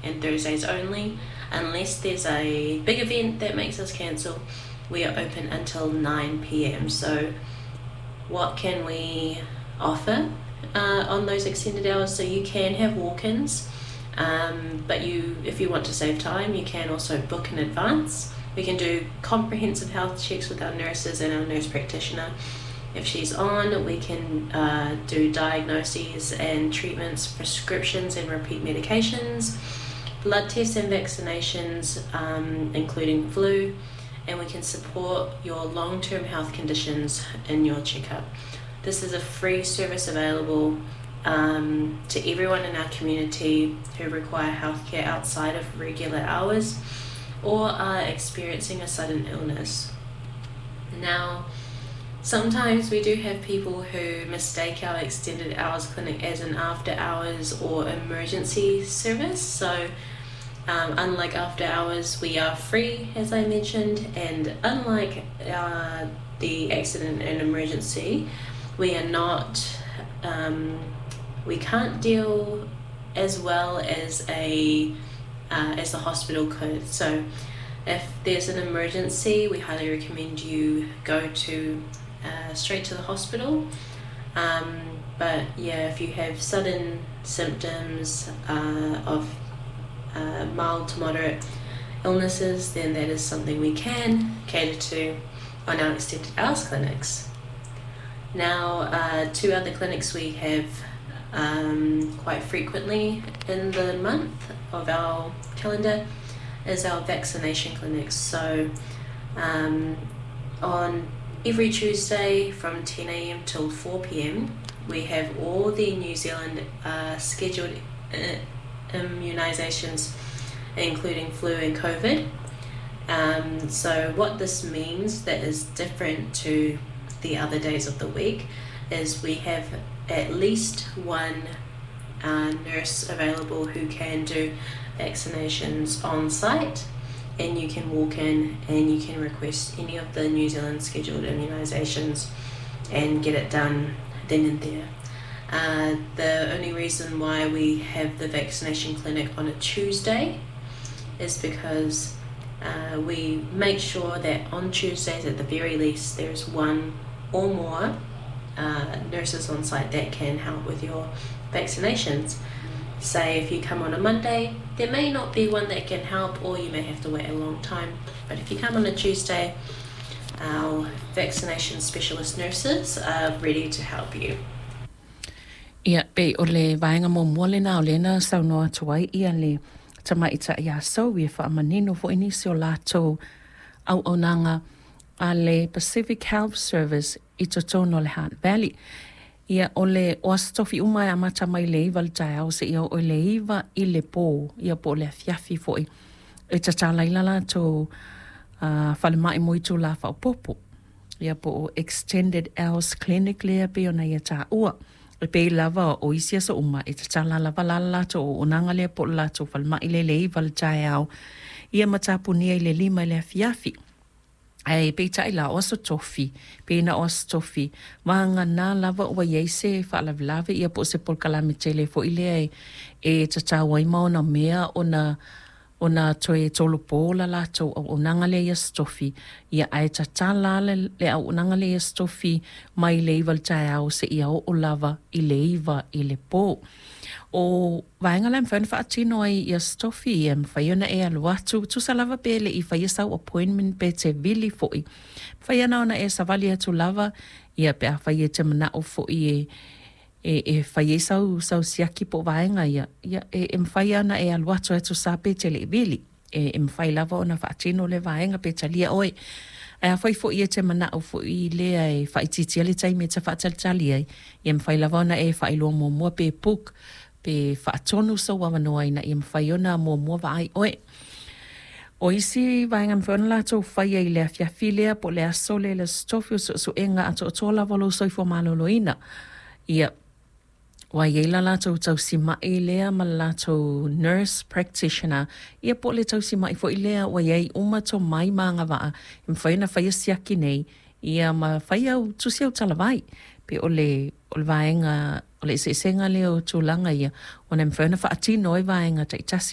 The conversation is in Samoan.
and Thursdays only. Unless there's a big event that makes us cancel, we are open until 9 p.m. So, what can we offer on those extended hours? So, you can have walk ins, but you, if you want to save time, you can also book in advance. We can do comprehensive health checks with our nurses and our nurse practitioner. If she's on, we can do diagnoses and treatments, prescriptions and repeat medications, blood tests and vaccinations, including flu, and we can support your long term health conditions in your checkup. This is a free service available to everyone in our community who require healthcare outside of regular hours or are experiencing a sudden illness. Now, sometimes we do have people who mistake our extended hours clinic as an after hours or emergency service. So, unlike after hours, we are free, as I mentioned, and unlike the accident and emergency, we are not, we can't deal as well as a as the hospital could. So, if there's an emergency, we highly recommend you go to straight to the hospital. But yeah, if you have sudden symptoms of mild to moderate illnesses, then that is something we can cater to on our extended hours clinics. Now, two other clinics we have quite frequently in the month of our calendar is our vaccination clinics. So, on every Tuesday from 10 a.m. till 4 p.m., we have all the New Zealand scheduled immunisations, including flu and COVID. So, what this means that is different to the other days of the week is we have at least one nurse available who can do vaccinations on site, and you can walk in and you can request any of the New Zealand scheduled immunisations and get it done then and there. The only reason why we have the vaccination clinic on a Tuesday is because we make sure that on Tuesdays, at the very least, there's one or more nurses on site that can help with your vaccinations. Say if you come on a Monday, there may not be one that can help, or you may have to wait a long time. But if you come on a Tuesday, our vaccination specialist nurses are ready to help you. Ia, pei o le vaega muamua lena o lea na saunoa atu ai ia le tamaitai ia Zoe e faamanino foi nisi o latou auaunaga a le Pacific Health Service i totonu o le Hutt Valley. Ia, o le o aso tofi uma e amata mai le 9 i le taeao seia oo i le 9 i le pō, ia po o le afiafi foi e tatala ai la latou falemai mo itulā faaopoopo, ia po o extended hours clinic lea pei ona ia taua. E pei lava o isi aso uma e tatala lava la le latou auaunaga lea po o le latou falemai lea i le 9 i le taeao, ia ma tapunia i le 5 i le afiafi. Ae peitai la, o aso tofi, pei na o aso tofi, vagana lava ua i ai se faalavelave ia po o se polokalame tele foi lea e tatau ai ma ona mea ona ona toe tolopo la latou auaunaga lea i aso tofi, ia ae tatala lava le auaunaga lea i aso tofi mai le 9 i le taeao seia oo lava i le 9 i le po. O vaega la e mafai ona faatino ai i aso tofi, ia e mafai ona e alu atu, tusa lava pe le i faia sau appointment pe te vili foi. Mafai ana ona e savali atu lava, ia pe afai e te manao foi e e fai ai sau sau siaki po o vaega ia, ia e mafai lava ona e alu atu e tusa pe te le i vili. E mafai lava ona faatino lea vaega pe talia oe. Ae afai foi e te manao foi lea e faaitiitia le taimi e te faatalitali ai, ia mafai lava ona e faailoa muamua pe book pe faatonu sou avanoa ina ia mafai ona muamua vaai oe. O isi vaega e mafai ona latou faia i le afiafi lea po o le aso lea i le Aso Tofi o suesuega atoatoa lava o lou soifua maloloina. Ia, ua i ai la latou tausima'i lea ma le latou nurse practitioner, ia po o le tausima'i foi lea ua i ai uma tomai ma agavaa e mafai ona faia siaki nei, ia ma fai au tusi autalavai. Pei o le o le vaega o le eseesega lea o tulaga ia ona e mafai ona faatino ai vaega taitasi.